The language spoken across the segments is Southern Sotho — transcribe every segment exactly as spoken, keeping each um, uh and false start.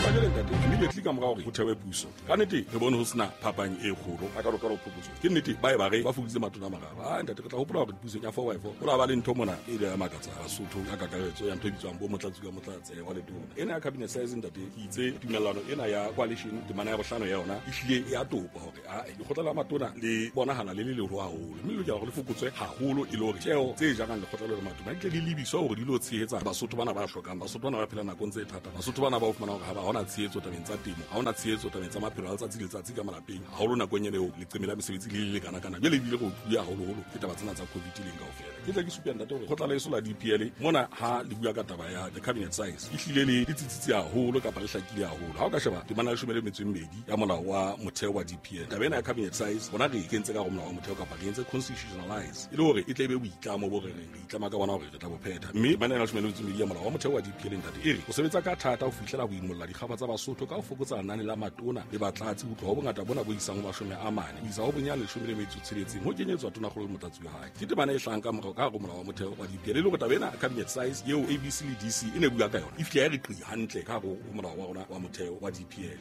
Jwale ntate, immediately ka mora hore ho thewe puso, ka nnete re bone ho sena phapang e kgolo a ka lokela ho phokotso. Ke nnete ba e ba re ba fokoditse matona a mararo. Ah ntate, re tla hopola hore pusong ya four by four ho la ba le ntho mona e ile ya makatsa Basotho ka kakaretso ya ntho e bitswang bo motlatsi ka motlatse wa letona. Ena ya cabinet size ntate, ke itse tumellano ena ya coalition temana ya bohlano ya yona e hlile e a topa hore a lekgotla la matona le bonahala le le leholo haholo, mme le lokela hore le fokotswe haholo e le hore tjeo tse jarang lekgotla le matona di tle di lebiswa hore di lo tshehetsa Basotho bana ba hlokang, Basotho bana ba phela nakong tse thata, Basotho bana ba o fumana hore ha ba hona tshehetso tabeng tsa temo, ha hona tshehetso tabeng tsa maphelo a letsatsi le letsatsi ka malapeng, haholo nakong ena eo leqeme la mesebetsi le le lekana kana. Jwale ebile re utlwile haholoholo ke taba tsena tsa COVID leng kaofela. Ke tle ke supe ntate hore kgotla la eso la D P L mona ha le bua ka taba ya the cabinet size e hlile le le tsitsitse haholo kapa le hlakile haholo. Ha o ka sheba temana ya leshome le metso e mmedi ya molao wa motheo wa D P L, taba ena ya cabinet size bona re e kentse ka hare ho molao wa motheo kapa re entse constitutionalize e le hore e tle e be boitlamo bo re reng re itlama ka bona hore re tla bo phetha. Mme temana ya leshome le metso e mmedi ya molao wa motheo wa D P L ntate e re o sebetsa ka thata ho fihlela ho imolla dikgaba tsa Basotho ka ho fokotsa lenane la matona le batlatsi ho tloha ho bongata bona bo isang ho mashome a mane ho isa ho bonyane leshome le metso e tsheletseng ho kenyetswa tonakgolo le motlatsi wa hae. Ke temana e hlahang ka morao ka hare ho molao wa motheo wa D P L e le hore taba ena cabinet size eo A B C le D C e ne bua ka yona e fihla ya re qi hantle ka hare ho molao wa rona wa motheo wa D P L.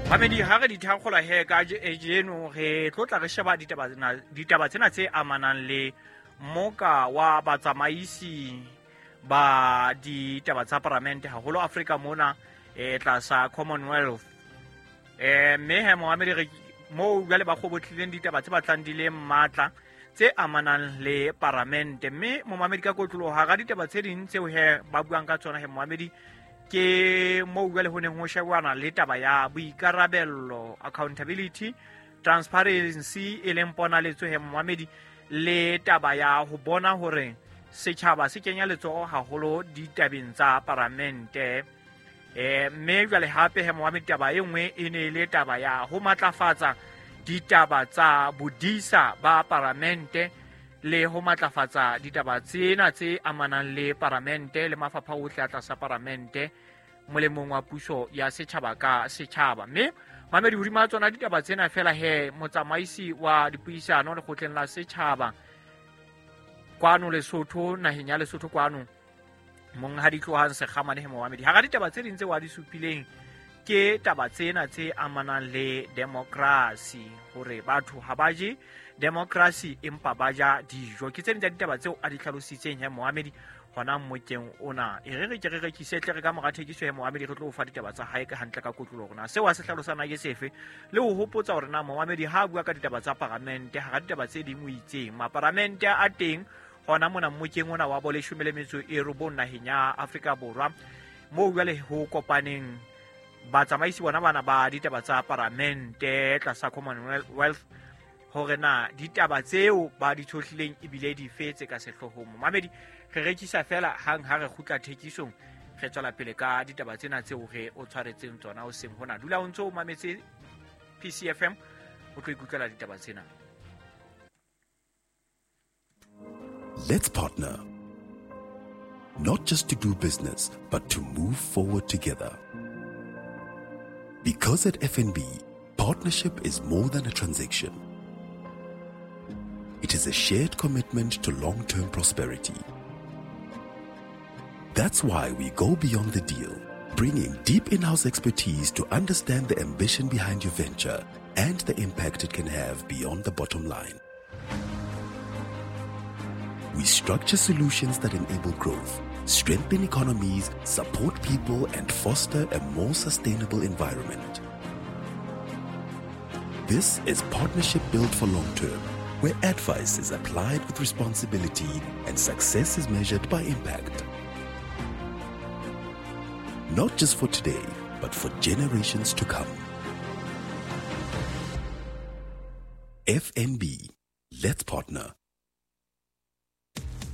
Mamedi, ha re di thakgola he ka jeno re tlo tla re sheba ditaba tsena, ditaba tsena tse amanang le moka wa batsamaisi ba ditaba tsa paramente haholo Afrika mona e tlasa Commonwealth. Eh mme he moamedi re mo jwale ba kgobotlileng ditaba tse batlang di le matla tse amanang le paramente. Mme momamedi ka kotloloho hara ditaba tse ding tseo he ba buang ka tsona he momamedi ke mo jwale ho neng ho shebana le taba ya boikarabello, accountability, transparency e leng ponaletso he momamedi, le taba ya ho bona hore setjhaba se kenya letsoho haholo ditabeng tsa paramente. Eh mme jwale hape he momamedi taba e nngwe e ne le taba ya ho matlafatsa ditaba tsa bodisa ba paramente le ho matlafatsa ditaba tsena tse amanang le paramente le mafapha ohle a tlasa paramente molemong wa puso ya setjhaba ka setjhaba. Mme mamedi hodima tsona ditaba tsena fela he motsamaisi wa dipuisano lekgotleng la setjhaba kwano Lesotho, naheng ya Lesotho kwano, Monghadi Tlohang Sekgamane he momamedi, hara ditaba tse ding tse wa di supileng ke taba tsena tse amanang le democracy, hore batho ha ba je democracy empa ba ja dijo. Ke tse ding tsa ditaba tseo a di hlalositseng he moamedi hona mmokeng ona. E re re ke re rekise tle re ka mora thekiso he moamedi re tlo o fa ditaba tsa hae ka hantle ka kotlolo hore na seo a se hlalosana ke sefe, le ho hopotsa hore na moamedi ha a bua ka ditaba tsa paramente hara ditaba tse ding o itseng maparamente a teng hona mona mmokeng ona wa boleshome le metso e robong naheng ya Afrika Borwa, moo jwale ho kopaneng batsamaisi bona bana ba ditaba tsa paramente tlasa Commonwealth hore na ditaba tseo ba di tshohlileng ebile di fetse ka sehloohong. Mamedi re rekisa fela hang ha re kgutla thekisong re tswela pele ka ditaba tsena tseo re o tshwaretseng tsona o seng hona. Dula o ntso o mametse P C F M o tlo ikutlwela ditaba tsena. Let's partner. Not just to do business, but to move forward together. Because at F N B, partnership is more than a transaction. It is a shared commitment to long-term prosperity. That's why we go beyond the deal, bringing deep in-house expertise to understand the ambition behind your venture and the impact it can have beyond the bottom line. We structure solutions that enable growth, strengthen economies, support people, and foster a more sustainable environment. This is partnership built for long term, where advice is applied with responsibility and success is measured by impact. Not just for today, but for generations to come. F N B, let's partner.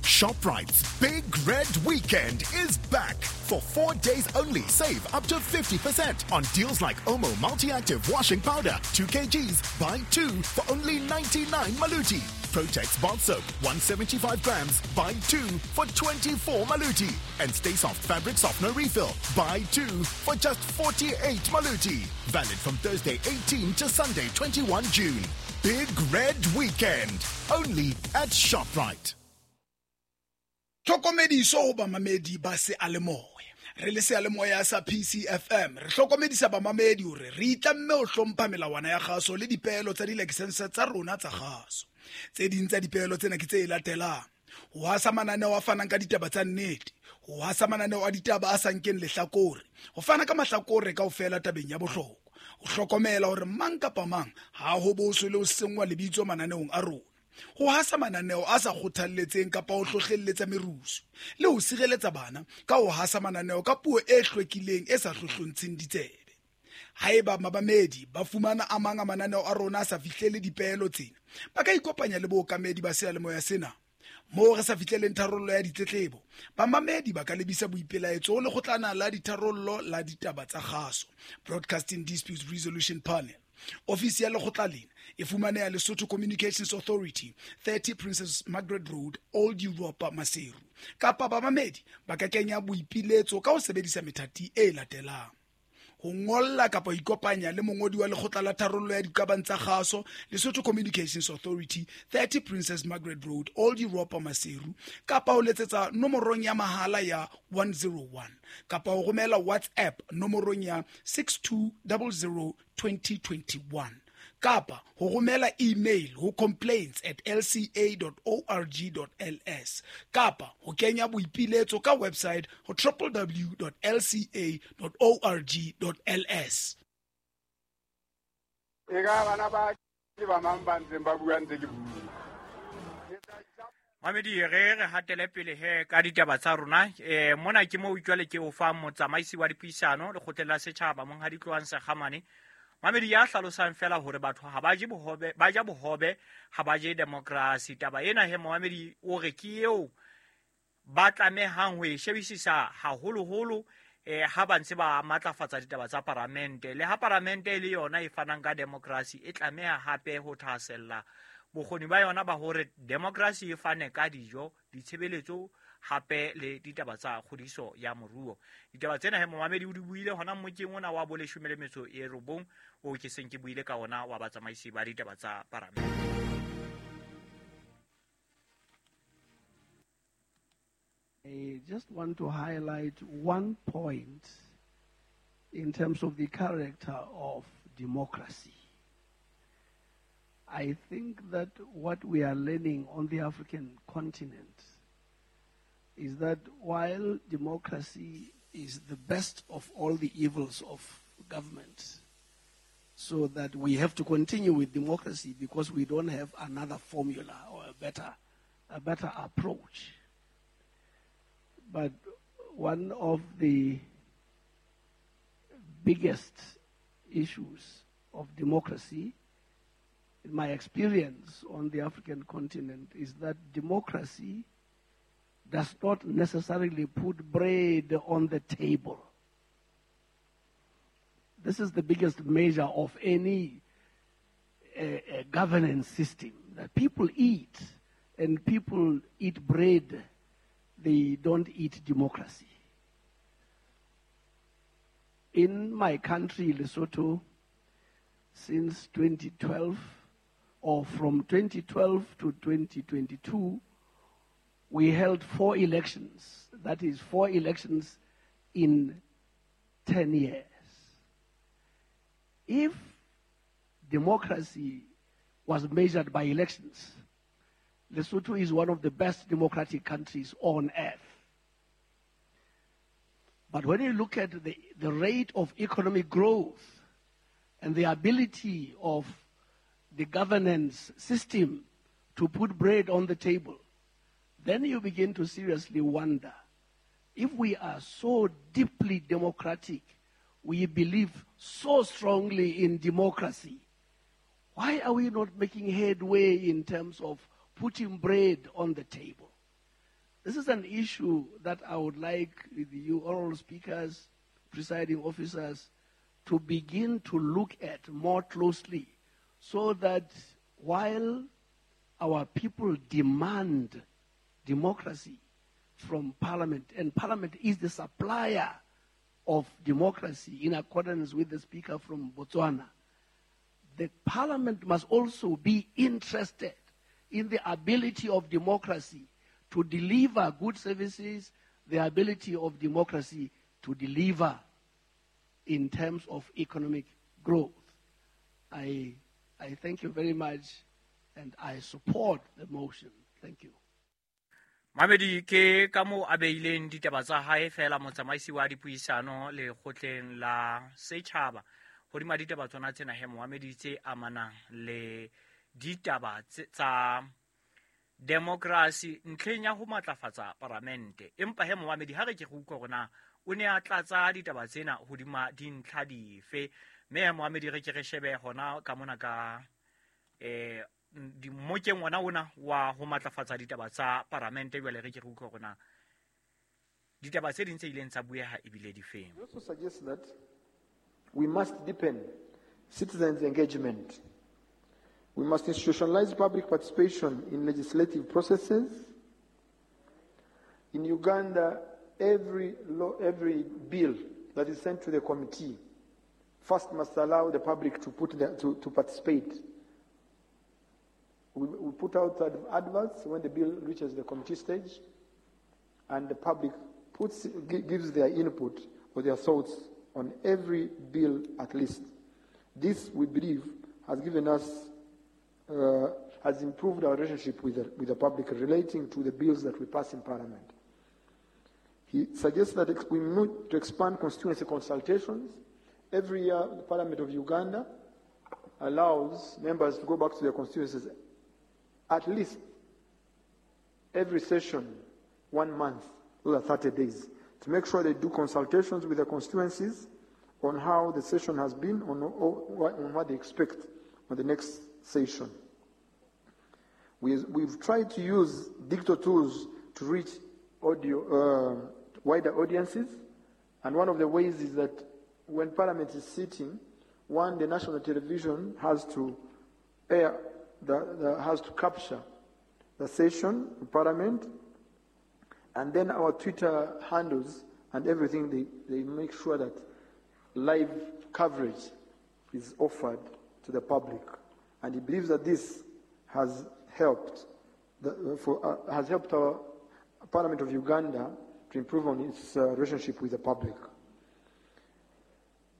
ShopRite's Big Red Weekend is back. For four days only, save up to fifty percent on deals like Omo Multi-Active Washing Powder, two kilograms, buy two for only ninety-nine Maluti. Protex Bath Soap, one seventy-five grams, buy two for twenty-four Maluti. And Stay Soft Fabric Softener Refill, buy two for just forty-eight Maluti. Valid from Thursday eighteenth to Sunday twenty-first June. Big Red Weekend, only at ShopRite. Tlhokomediso ho bamamedi ba seyalemoya. Re le seyalemoya sa P C F M re hlokomedisa bamamedi hore re itlamme ho hlompha melawana ya kgaso le dipeelo tsa dilaesense tsa rona tsa kgaso. Tse ding tsa dipeelo tsena ke tse latelang: ho hasa mananeo a fanang ka ditaba tsa nnete, ho hasa mananeo a ditaba a sa nkeng lehlakore, ho fana ka mahlakore kaofela tabeng ya bohlokwa, ho hlokomela hore mang kapa mang ha ho boswe le ho senngwa lebitso mananeong a rona, ho hasa mananeo a sa kgothalletseng kapa ho hlohlelletsa merusu, le ho sireletsa bana ka ho hasa mananeo ka puo e hlwekileng e sa hlohlontsheng ditsebe. Haeba mabamedi ba fumana a mang a mananeo a rona a sa fihlele dipeelo tsena, ba ka ikopanya le bookamedi ba seyalemoya sena. Moo re sa fihleleng tharollo ya ditletlebo, bamamedi ba ka lebisa boipelaetso ho lekgotlana la ditharollo la ditaba tsa kgaso, Broadcasting Disputes Resolution Panel. Ofisi ya lekgotla lena e fumaneha Lesotho Communications Authority, thirty Princess Margaret Road, Old Europa, Maseru. Kapa bamamedi ba ka kenya boipiletso ka ho sebedisa methati e latelang: ho ngolla kapa ho ikopanya le mongodi wa lekgotla la tharollo ya diqabang tsa kgaso, Lesotho Communications Authority, thirty Princess Margaret Road, Old Europa, Maseru, kapa ho letsetsa nomorong ya mahala ya one zero one, kapa ho romela WhatsApp nomorong ya six two zero zero twenty twenty-one, kapa ho romela email ho complaints at l c a dot org dot l s, kapa ho kenya boipiletso ka website ho w w w dot l c a dot org dot l s. E ka bana ba ke ba mang ba ntseng ba bua ntse ke bua. Mamedi, re re hatele pele he ka ditaba tsa rona. Eh mona ke mo jwale ke o fa motsamaisi wa dipuisano lekgotleng la setjhaba Monghadi Tlohang Sekgamane. Mamedi ya hlalosang fela hore batho ha ba je bohobe, ba ja bohobe, ha ba je democracy. Taba ena he Mamedi o re ke eo ba tlamehang ho e shebisisa haholoholo eh ha ba ntse ba matlafatsa ditaba tsa paramente. Le ha paramente e le yona e fanang ka democracy, e tlameha hape ho thahasella bokgoni ba yona ba hore democracy e fane ka dijo, ditshebeletso hape le ditaba tsa kgodiso ya moruo. Ditaba tsena he Momamedi o di buile hona mokeng ona wa boleshome le metso e robong o ke seng ke buile ka ona wa batsamaisi ba ditaba tsa paramente. I just want to highlight one point in terms of the character of democracy. I think that what we are learning on the African continent is that while democracy is the best of all the evils of government, so that we have to continue with democracy because we don't have another formula or a better, a better approach. But one of the biggest issues of democracy, in my experience on the African continent, is that democracy does not necessarily put bread on the table. This is the biggest measure of any uh, uh, governance system, that people eat, and people eat bread. They don't eat democracy. In my country, Lesotho, since twenty twelve, or from twenty twelve to twenty twenty-two, we held four elections. That is, four elections in ten years. If democracy was measured by elections, Lesotho is one of the best democratic countries on earth. But when you look at the, the rate of economic growth and the ability of the governance system to put bread on the table, then you begin to seriously wonder, if we are so deeply democratic, we believe so strongly in democracy, why are we not making headway in terms of putting bread on the table? This is an issue that I would like you oral speakers, presiding officers, to begin to look at more closely, so that while our people demand democracy from Parliament, and Parliament is the supplier of democracy in accordance with the speaker from Botswana, the Parliament must also be interested in the ability of democracy to deliver good services, the ability of democracy to deliver in terms of economic growth. I, I thank you very much, and I support the motion. Thank you. Mamedi ke ka moo a beileng ditaba tsa hae fela motsamaisi wa dipuisano lekgotleng la setjhaba hodima ditaba tsona tsena he moamedi tse amanang le ditaba tsa democracy ntlheng ya ho matlafatsa paramente. Empa he moamedi ha re ke go utlwa rona o ne a tlatsa ditaba tsena hodima dintlha dife, mme he moamedi re ke re shebe hona ka mona ka eh di mmokeng ona ona wa ho matlafatsa ditaba tsa paramente. Jwale re ke re utlwa rona ditaba tse ding tse ileng tsa bueha ebile di feng. We also suggest that we must deepen citizens' engagement. We must institutionalize public participation in legislative processes. In Uganda, every law, every bill that is sent to the committee first must allow the public to put the, to, to participate. We, we put out adverts when the bill reaches the committee stage, and the public puts, gives their input or their thoughts on every bill at least. This, we believe, has given us, uh, has improved our relationship with the, with the public relating to the bills that we pass in Parliament. He suggests that we need to expand constituency consultations. Every year, the Parliament of Uganda allows members to go back to their constituencies at least every session, one month, those are thirty days, to make sure they do consultations with their constituencies on how the session has been, on, on what they expect on the next session. We, we've tried to use digital tools to reach audio, uh, wider audiences, and one of the ways is that when Parliament is sitting, one, the national television has to air, the, the, has to capture the session of Parliament, and then our Twitter handles and everything, they, they make sure that live coverage is offered to the public. And he believes that this has helped, the, for, uh, has helped our Parliament of Uganda to improve on its uh, relationship with the public.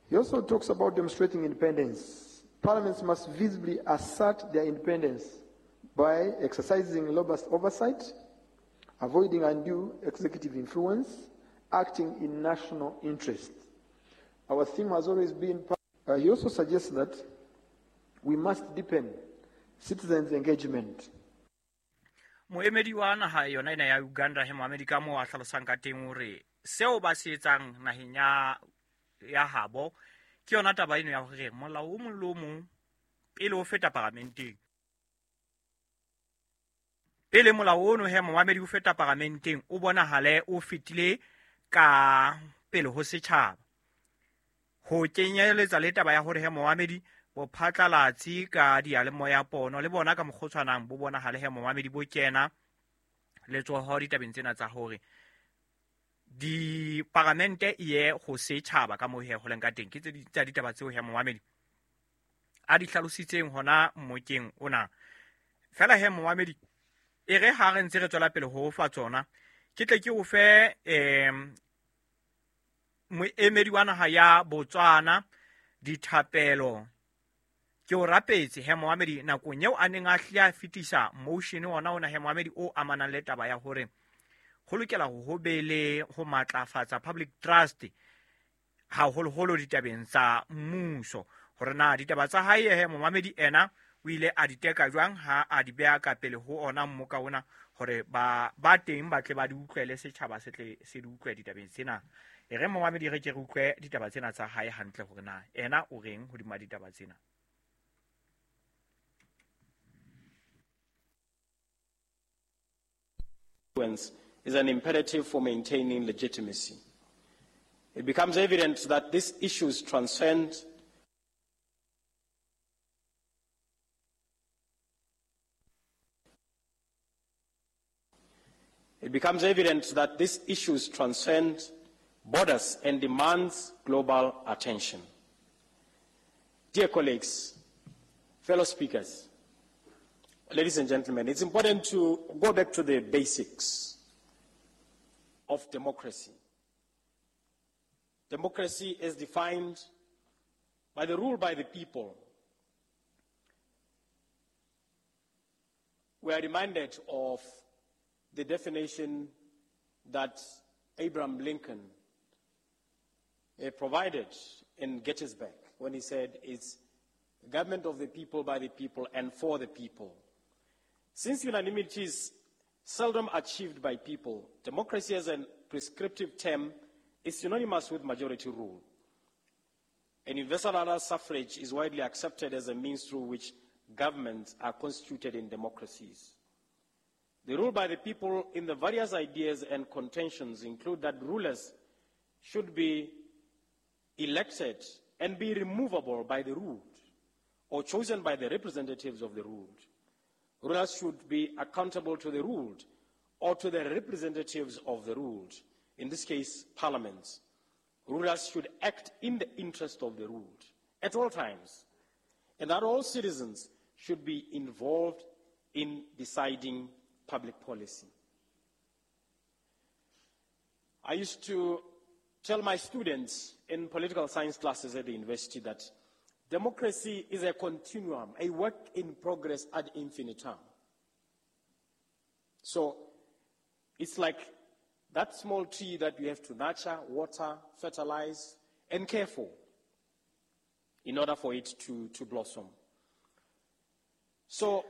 He also talks about demonstrating independence. Parliaments must visibly assert their independence by exercising robust oversight, avoiding undue executive influence, acting in national interest. Our theme has always been... Uh, he also suggests that we must deepen citizens' engagement. Moemedi wa naha yona ena ya Uganda he moamedi ka moo a hlalosang ka teng hore seo ba se etsang naheng ya ya habo ke yona taba eno ya hore molao o mong le o mong pele o feta paramenteng, pele molao ono he moamedi o feta paramenteng o bonahale o fetile ka pele ho setjhaba, ho kenyeletsa le taba ya hore he moamedi bo phatlalatsi ka diyalemoya pono le bona ka mokgotshwanang bo bonahale he moamedi bo kena letsoho ditabeng tsena tsa hore di paramente ye ho setjhaba ka moo he ho leng ka teng. Ke tse tsa ditaba tseo he moamedi a di hlalositseng hona mmokeng ona. Fela he moamedi e re ha re ntse re tswela pele ho fa tsona, ke tle ke o fe em moemedi wa naha ya Botswana dithapelo. Ke o rapetse he moamedi nakong eo a neng a hle a fetisa motion ona ona he moamedi o amanang le taba ya hore ho lokela ho hobele ho matlafatsa public trust haholoholo ditabeng tsa mmuso, hore na ditaba tsa hae he moamedi ena o ile a di teka jwang ha a di beha ka pele ho ona mmoka ona hore ba ba teng ba tle ba di utlwele, setjhaba se tle se di utlwe ditabeng tsena. E re moamedi re ke re utlwe ditaba tsena tsa hae hantle hore na ena o reng hodima ditaba tsena. Is an imperative for maintaining legitimacy. It becomes evident that these issues transcend It becomes evident that these issues transcend borders and demands global attention. Dear colleagues, fellow speakers, Ladies and gentlemen, it's important to go back to the basics of democracy. Democracy is defined by the rule by the people. We are reminded of the definition that Abraham Lincoln uh, provided in Gettysburg when he said it's the government of the people, by the people, and for the people. Since unanimity is seldom achieved by people, democracy as a prescriptive term is synonymous with majority rule. And universal adult suffrage is widely accepted as a means through which governments are constituted in democracies. The rule by the people in the various ideas and contentions include that rulers should be elected and be removable by the ruled or chosen by the representatives of the ruled. Rulers should be accountable to the ruled or to the representatives of the ruled, in this case, parliaments. Rulers should act in the interest of the ruled at all times, and that all citizens should be involved in deciding public policy. I used to tell my students in political science classes at the university that democracy is a continuum, a work in progress ad infinitum. So it's like that small tree that you have to nurture, water, fertilize, and care for in order for it to, to blossom. So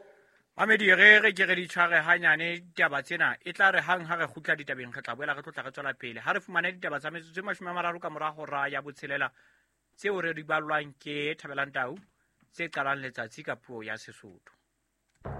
Mamedi re re ke re di tshware hanyane ditaba tsena e tla re hang ha re kgutla ditabeng re tla boela re tlotla re tswela pele ha re fumane ditaba tsa metsotso e mashome a mararo ka mora hora ya botshelela tseo re di ballwang ke Thabelang Tau tse qalang letsatsi ka puo ya Sesotho.